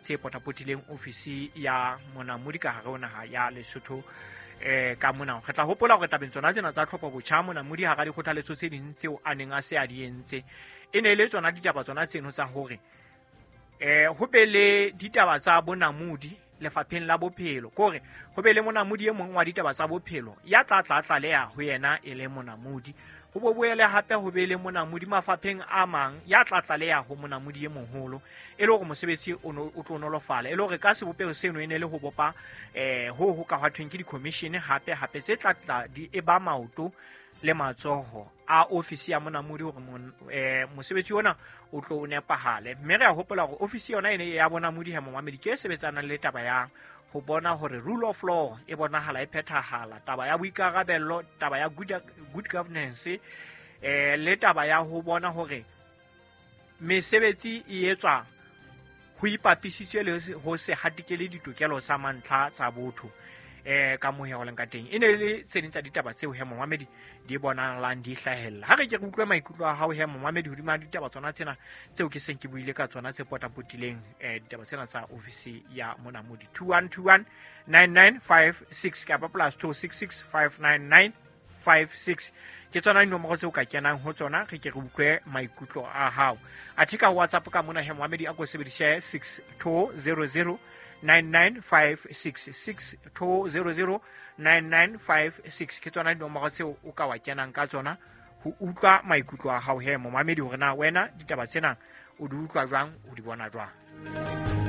tse potapotileng ofisi ya Monamodi ka hare ho naha ya Lesotho. Ka mona re tla hopola hore tabeng tsona tsena tsa tlhopho botjha, Monamodi hara dikgothaletso tse ding tseo a neng a se a di entse e ne e le tsona ditaba tsona tseno tsa hore ho be le ditaba tsa bonamodi lefapheng la bophelo, kore ho be le monamodi e mong wa ditaba tsa bophelo ya tla tla tlaleha ho yena e le monamodi, ho bo boele hape ho be le monamodi mafapheng a mang ya tla tlaleha ho monamodi e moholo, e le hore mosebetsi o tlo nolofala, e le hore ka sebopeho seno e ne le ho bopa ho ka hwa thweng ke di-commission hape hape tse tla tla di e ba maoto le matsoho a ofisi ya monamodi hore mosebetsi ona o tlo o nepahale. Mme re a hopola hore ofisi yona e ne ya bonamodi he momamedi ke e sebetsanang le taba ya ho bona hore rule of law e bonahala e phethahala, taba ya boikarabello, taba ya good governance, le taba ya ho bona hore mesebetsi e etswa ho ipapisitswe le ho se hatikele ditokelo tsa mantlha tsa botho. Ka moo ho leng ka teng, e ne le tse ding tsa ditaba tseo he momamedi di bonahalang di hlahella. Ha re ke re utlwe maikutlo a hao he momamedi hodima ditaba tsona tsena tseo ke seng ke buile ka tsona tse potapotileng ditaba tsena tsa ofisi ya Monamodi. 2121 9956 kapa +266 599 56 ke tsona dinomoro tseo ka kenang ho tsona, re ke re utlwe maikutlo a hao. Athe ka WhatsApp ka mona he momamedi, a ko sebedise 6200 9956, 6200 9956 ke tsona dinomoro tseo o ka wa kenang ka tsona ho utlwa maikutlo a hao he momamedi, hore na wena ditaba tsena o di utlwa jwang, o di bona jwang.